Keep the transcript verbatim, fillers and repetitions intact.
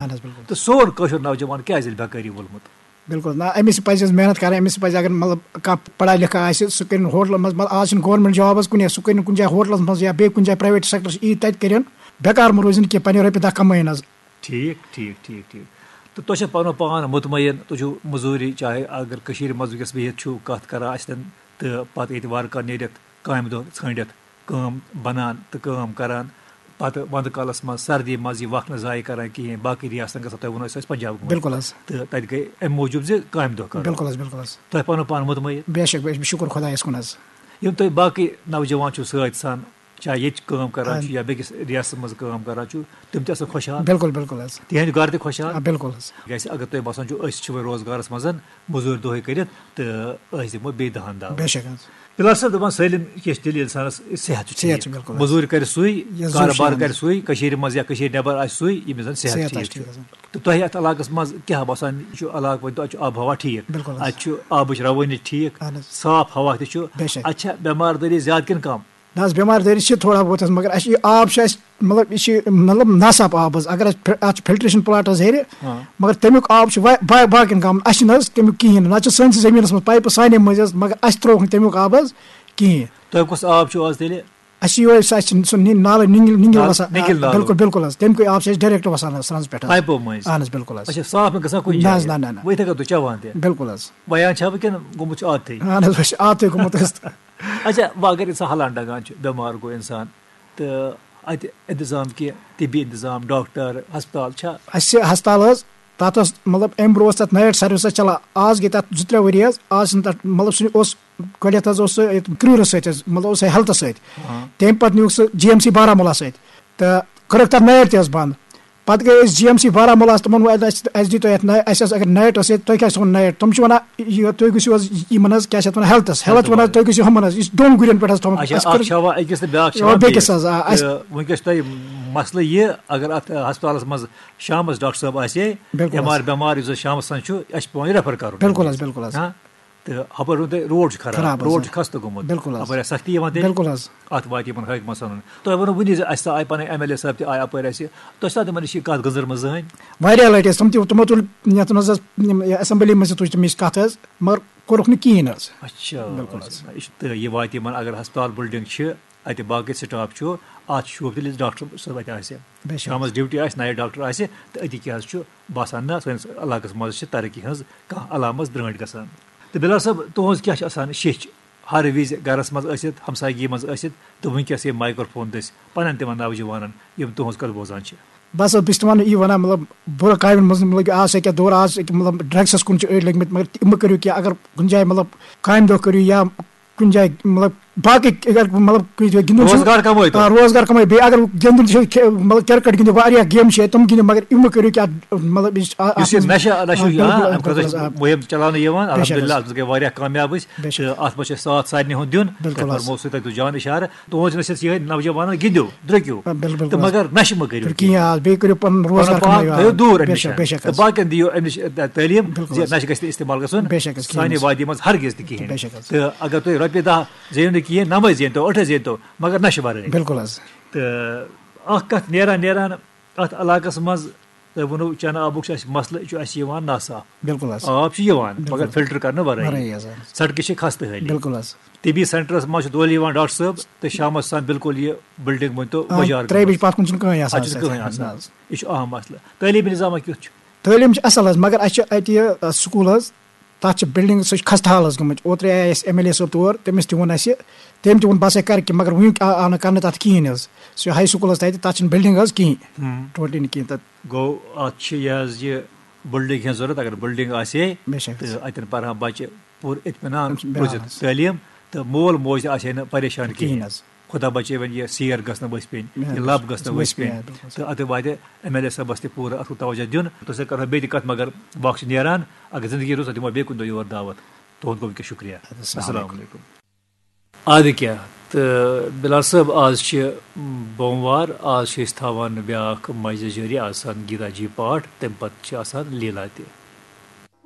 اہن حظ، بِلکُل۔ تہٕ سون کٲشُر نوجوان کیٛازِ ییٚلہِ بیکٲری وولمُت؟ بِلکُل، نہ، أمِس چھِ پَزِ حظ محنت کَرٕنۍ، أمِس چھِ پَزِ، اگر مطلب کانٛہہ پَڑھا لِکھا آسہِ، سُہ کٔرِنۍ ہوٹلَن منٛز، مطلب، آز چھِنہٕ گورمٮ۪نٛٹ جاب حظ کُنہِ، سُہ کٔرِنۍ کُنہِ جایہِ ہوٹلَس منٛز یا بیٚیہِ کُنہِ جایہِ پرٛایویٹ سٮ۪کٹَرَس یی تَتہِ کٔرِنۍ، بیکار مہٕ روزِنۍ کینٛہہ، پنٛنہِ رۄپیہِ دَہ کَمٲیِن حظ۔ ٹھیٖک، ٹھیٖک، ٹھیٖک، ٹھیٖک۔ تہٕ تُہۍ چھا پَنُن پان مطمعین، تُہۍ چھِو مٔزوٗرِ، چاہے اگر کٔشیٖرِ منٛز وٕنکیٚس بِہِتھ چھِو کَتھ کَران اَسہِ سۭتۍ، تہٕ پَتہٕ ییٚتہِ وارٕ کارٕ نیٖرِتھ کامہِ دۄہ ژھٲنٛڈِتھ کٲم بَنان تہٕ کٲم کَران، پَتہٕ وَندٕ کالَس منٛز سردی منٛز یہِ وقت نہٕ ضایع کَران کِہیٖنۍ، باقٕے رِیاستَن گژھان، تۄہہِ ووٚنوُ اَسہِ ٲسۍ پنجاب گٔمٕتۍ۔ بِلکُل حظ۔ تہٕ تَتہِ گٔے اَمہِ موٗجوٗب زِ کامہِ دۄہ کَرو۔ بِلکُل حظ، بِلکُل حظ۔ تۄہہِ پَنُن پان مطمعین؟ بے شک، بے شک، شُکُر خۄدایَس کُن حظ۔ یِم تۄہہِ باقٕے نوجوان چھِو سۭتۍ سان، چاہے ییٚتہِ کٲم کَران اہن۔ چھُ یا بیٚکِس رِیاستَس منٛز کٲم کَران چھُ، تِم تہِ آسَن خۄشحال۔ بِلکُل، بِلکُل حظ۔ تِہِنٛدِ گَرٕ تہِ خۄشحال۔ آ، بِلکُل حظ۔ کیٛازِ اگر تۄہہِ باسان چھُ أسۍ چھِ وۄنۍ روزگارَس منٛز مٔزوٗرۍ دۄہَے کٔرِتھ تہٕ أسۍ دِمو بیٚیہِ دَہَن دَہ۔ بے شک حظ۔ بِلال صٲب دَپان سٲلِم کینٛہہ چھِ تیٚلہِ اِنسانَس صحت چھُ صحت ٹھیٖک۔ چھُ بِلکُل حظ۔ مٔزوٗرۍ کَرِ سُے، یُس زَن کارٕبار شامَس۔ کَرِ سُے، کٔشیٖرِ منٛز یا کٔشیٖرِ نٮ۪بَر آسہِ سُے، ییٚمِس زَن صحت صحت آسہِ ٹھیٖک ٹھیٖک حظ۔ تہٕ تۄہہِ اَتھ علاقَس منٛز کیٛاہ باسان چھُ علاقہٕ وۄنۍ تۄہہِ چھُ آب و ہوا ٹھیٖک؟ بِلکُل حظ۔ اَتہِ چھُ آبٕچ رَوٲنی ٹھیٖک، اہن حظ۔ صاف ہوا تہِ چھُ۔ بے شک۔ اَتہِ چھا بٮ۪مار دٲری زیادٕ کِنہٕ کَم؟ نہ حظ، بٮ۪مار دٲری چھِ تھوڑا بہت حظ، مگر اَسہِ چھُ یہِ آب چھُ اَسہِ، مطلب، یہِ چھِ، مطلب، ناصاف آب حظ۔ اگر اَسہِ فِل-، اَتھ چھُ فِلٹریشن پلانٹ حظ ہیٚرِ، ہاں۔ مگر تَمیُک آب چھُ وا-، با-، باقین گامَن، اَسہِ چھُنہٕ حظ تَمیُک کِہیٖنۍ نہٕ۔ نہ چھُ سٲنِس زٔمیٖنَس منٛز پایپہٕ سانے مٔنٛزۍ حظ، مگر اَسہِ ترٛووُکھ نہٕ تَمیُک آب حظ کِہیٖنۍ۔ تۄہہِ کُس آب چھُو آز تیٚلہِ؟ اَسہِ چھُ یِہوٚے، سُہ اَسہِ چھُ سُہ نی-، نالہٕ نِنگِل، نِنگِل نالہٕ وَسان۔ نِنگِل آ، نالہٕ۔ بِلکُل، بِلکُل حظ۔ تَمہِ کُے آب چھُ اَسہِ ڈایریکٹ وَسان حظ سرٛنٛز پٮ۪ٹھ حظ۔ پایپو مٔنٛزۍ؟ اَہَن حظ، بِلکُل حظ۔ اَچھا، صاف نہٕ گژھان کُنہِ نہ حظ، جایہِ؟ نہ، نہ، نہ۔ وۄنۍ یِتھَے کٔنۍ تُہۍ چٮ۪وان تہِ؟ بِلکُل حظ۔ وۄنۍ چھا وٕنکٮ۪ن گوٚمُت چھُ عادتھٕے؟ اَہَن حظ، وۄنۍ چھُ عادتھٕے گوٚمُت اَسہِ۔ اچھا، وۄنۍ اگر اِنسان ہلان ڈنگان چھُ، بٮ۪مار گوٚو اِنسان، تہٕ اَتہِ اِنتظام کینٛہہ، طبی اِنتظام، ڈاکٹر، ہسپتال چھا؟ اَسہِ چھِ ہسپتال حظ، تَتھ ٲس، مطلب، اَمہِ برونٛہہ ٲس تَتھ نایٹ سٔروِس حظ چَلان۔ آز گٔے تَتھ زٕ ترٛےٚ ؤری حظ۔ آز چھِنہٕ تَتھ، مطلب، سُہ اوس گۄڈٕنٮ۪تھ حظ اوس سُہ ییٚتہِ کرٛیوٗرَس سۭتۍ حظ، مطلب، اوس سُہ ہیلتھَس سۭتۍ۔ ہاں۔ تَمہِ پَتہٕ نیوٗکھ سُہ جی ایم سی بارہمولہ سۭتۍ تہٕ کٔرٕکھ تَتھ نایٹ تہِ حظ بنٛد۔ پَتہٕ گٔے أسۍ جی ایم سی بارہمولہس، تِمن ووٚن، اَسہِ، اَسہِ دِتو یَتھ ناے-، اَسہِ حظ اگر نایٹ ٲس ییٚتہِ، تۄہہِ کیٛاہ چھِ تھاوُن نایٹ؟ تِم چھِ وَنان، یہِ، تُہۍ گٔژھِو حظ یِمن حظ، کیٛاہ چھِ اَتھ وَنان، ہیلتھس، ہیلتھ وَنان، تُہۍ گٔژھِو ہُمن حظ، یہِ چھِ دۄن گُرٮ۪ن پٮ۪ٹھ حظ تھاوُن۔ اچھا، اَسہِ اکھ کٔر چھا وۄنۍ أکِس تہٕ بیٛاکھ چھا اَوا، وۄنۍ بیٚکِس بیٚیِس؟ حظ، آ، اَسہِ تہٕ وٕنکیٚس چھُ تۄہہِ مسلہٕ یہِ، اگر اَتھ ہسپتالس منٛز شامس ڈاکٹر صٲب آسہِ ہے، بِلکُل حظ۔ اٮ۪م آر بٮ۪مار یُس زن شامس تام چھُ، اَسہِ چھُ پٮ۪وان یہِ ریفر کَرُن۔ بِلکُل حظ، بِلکُل حظ۔ ہاں؟ تہٕ ہُپٲرۍ ووٚن تۄہہِ روڈ چھُ خراب، خراب حظ، روڈ آ۔ چھُ خستہٕ گوٚمُت، بِلکُل حظ۔ اَپٲرۍ آسہِ سختی یِوان تیٚلہِ۔ بِلکُل حظ۔ اَتھ واتہِ یِمن حٲکمَن سَنُن۔ تۄہہِ ووٚنوُ وُنی زِ اَسہِ آے پَنٕنۍ ایم ایل اے صٲب تہِ آے اَپٲرۍ اَسہِ۔ تۄہہِ چھُ تِمن نِش یہِ کَتھ گٔنزٕرمٕژ زٕہٕنۍ؟ واریاہ لَٹہِ حظ، تِم تہِ، تِمو تُل یَتھ منٛز حظ، یِم اسمبلی منٛز تہِ تُج تِم یِم کَتھ حظ، مگر کوٚرُکھ نہٕ کِہیٖنۍ حظ۔ اچھا، بِلکُل حظ۔ اچھا۔ یہِ چھُ، تہٕ یہِ واتہِ یِمن، اگر ہسپتال بِلڈنگ چھِ، اَتہِ باقٕے سٹاف چھُ، اَتھ چھُ شوٗب تیٚلہِ ڈاکٹر صٲب اَتہِ آسہِ۔ بے شک۔ شامَس ڈیوٹی آسہِ، نایٹ ڈاکٹر آسہِ، تہٕ أتی کیٛاہ حظ چھُ باسان، نہ، سٲنِس علاقَس منٛز چھِ ترقی ہٕنٛز کانٛہہ علامت برٛٲنٛٹھ گژھان۔ تہٕ بِلال صٲب، تُہٕنٛز کیٛاہ چھِ آسان شیٚچھ ہر وِزِ گَرَس منٛز ٲسِتھ، ہمسایگی منٛز ٲسِتھ، تہٕ وٕنکیٚس یہِ مایکروفون دٔسۍ پَنَن تِمَن نوجوانَن، یِم تُہٕنٛز کَتھ بوزان چھِ؟ بَس حظ، بہٕ چھُس تِمَن یی وَنان، مطلب، بُرٕ کامٮ۪ن منٛز، مطلب، کہِ آز چھِ أکیٛاہ دور، آز چھِ أکیٛاہ، مطلب، ڈرٛگسَس کُن چھِ أڑۍ لٔگمٕتۍ، مگر تہِ-، مہٕ کٔرِو کینٛہہ، اگر کُنہِ جایہِ، مطلب، کامہِ دۄہ کٔرِو یا کُنہِ جایہِ، مطلب، باقٕے اگر، مطلب، کُنہِ جایہِ گِنٛدُن چھُ، روزگار کمٲیتو۔ آ، روزگار کمٲیِو۔ بیٚیہِ اگر گِنٛدُن چھُ، کھے-، مطلب، کرکٹ گِنٛدِو، واریاہ گیمہٕ چھِ، تِم گِنٛدِو، مگر یِم مہٕ کٔرِو کینٛہہ، مطلب، یُس، آ، یُس یہِ اَتھ منٛز، نشہ، نشہ آ، چھُ، آ، بِلکُل، اَمہِ خٲطرٕ بِلکُل، چھِ آ۔ مُہِم چلاونہٕ یِوان۔ بے شک الحمدللہ، حظ۔ اَتھ منٛز گٔے واریاہ کامیاب أسۍ۔ بے شک۔ تہٕ اَتھ منٛز چھُ ساتھ سارنٕے ہُنٛد دیُن۔ بِلکُل تہٕ حظ۔ فرموو سُہ تۄہہِ دیُت جان اِشارٕ۔ تُہٕنٛز نصیحت چھِ یِہوٚے نوجوانَن، گِنٛدِو، درٛوٚکِو۔ آ، بِلکُل، تہٕ بِلکُل حظ۔ مگر نشہٕ مہٕ کٔرِو پھر کِہیٖنۍ۔ کِہیٖنۍ، آ، بیٚیہِ کٔرِو پَنُن روزگار پَنُن پان کمٲیِو، آ۔ تھٲیِو دوٗر اَمہِ بے نِش۔ شک، بے شک تہٕ حظ۔ باقین دِیِو اَمہِ نِش، آ، تعلیٖم بِلکُل زِ حظ۔ نشہٕ گژھِ نہٕ استعمال گژھُن بے شک حظ، کِہیٖنۍ سانہِ حظ۔ وادی منٛز ہرگز تہِ کِہیٖنۍ۔ بے شک حظ، کِہیٖنۍ تہٕ حظ۔ اگر تُہۍ رۄپیہِ دَہ زیٖنِو نہٕ کِہیٖنۍ، نَمَے زیٖنتو، ٲٹھَے زیٖنتو، مگر نشہٕ وَرٲے۔ بِلکُل حظ۔ تہٕ اَکھ کَتھ نیران نیران اَتھ علاقَس منٛز، تۄہہِ ووٚنوُ چَنہٕ آبُک چھُ اَسہِ مسلہٕ، یہِ چھُ اَسہِ یِوان ناصاف۔ بِلکُل حظ۔ آب چھُ یِوان، بِلکُل۔ مگر فِلٹر کرنہٕ ورٲیی۔ ورٲیی حظ، آ۔ سڑکہِ چھِ خستہٕ حٲلی۔ بِلکُل حظ۔ طبی سینٹرس منٛز چھُ دۄہلہِ یِوان ڈاکٹر صٲب تہٕ شامس آسان بِلکُل یہِ بلڈنگ مٲنۍ تو آ، وۄجار ترٛیٚیہِ بجہِ گٔمٕژ۔ پتھ کُن چھُنہٕ کٕہٕنۍ آسان اَتہِ چھُنہٕ اَسہِ۔ کٕہٕنۍ آسان۔ نہ حظ۔ یہِ چھُ اہم مسلہٕ۔ تعلیٖم نظامہ کیُتھ چھُ؟ تعلیٖم چھِ اَصٕل حظ، مگر اَسہِ چھِ اَتہِ یہِ، آ، سکوٗل حظ، تَتھ چھِ بِلڈِنٛگ، سُہ چھُ خستہٕ حالَس گٔمٕژ۔ اوترَے آیہِ اَسہِ ایم ایل اے صٲب تور، تٔمِس تہِ ووٚن اَسہِ، تٔمۍ تہِ ووٚن، "بہٕ ہسا کَرٕ کینٛہہ"، مگر وٕنیُک آ-، آو نہٕ کَرنہٕ تَتھ کِہیٖنۍ حظ۔ سُہ ہاے سکوٗلَس تَتہِ، تَتھ چھِنہٕ بِلڈِنٛگ حظ کِہیٖنۍ، ہُم۔ ٹوٹلی نہٕ کِہیٖنۍ تَتھ۔ گوٚو، اَتھ چھِ یہِ حظ یہِ بِلڈِنٛگ ہٕنٛز ضوٚرَتھ، اگر بِلڈِنٛگ آسہِ ہے، بے شک۔ تہٕ اَتٮ۪ن پَرٕ ہا بَچہِ پوٗرٕ اطمینان بِلکُل روٗزِتھ حظ۔ تعلیٖم، تہٕ مول موج تہِ آسہِ ہے نہٕ پریشان کِہیٖنۍ۔ کِہیٖنۍ حظ۔ خۄدا بچٲوِن، یہِ سیر گٔژھ نہٕ ؤسۍ پیٚنۍ، آ، یہِ لب گٔژھ نہٕ ؤسۍ ؤسۍ پیٚنۍ، پیٚنۍ، آ، بِلکُل۔ تہٕ اَتھ واتہِ ایم ایل اے صٲبَس تہِ پوٗرٕ اَتھ توجہ دیُن۔ تۄہہِ سۭتۍ کَرو بیٚیہِ تہِ کَتھ، مگر وقت چھُ نیران۔ اگر زندگی روٗز، تۄہہِ دِمو بیٚیہِ کُنہِ دۄہ یور دعوت۔ تُہُنٛد گوٚو وٕنکیٚس شُکریہ۔ اَدٕ السلام السلام علیکُم۔ علیکُم۔ اَدٕ کیٛاہ، تہٕ بِلال صٲب، آز چھِ بوموار، آز چھِ أسۍ تھاوان بیٛاکھ مجلس جٲری آسان گیٖتا جی پاٹھ، تَمہِ پَتہٕ چھِ آسان لیٖلا تہِ۔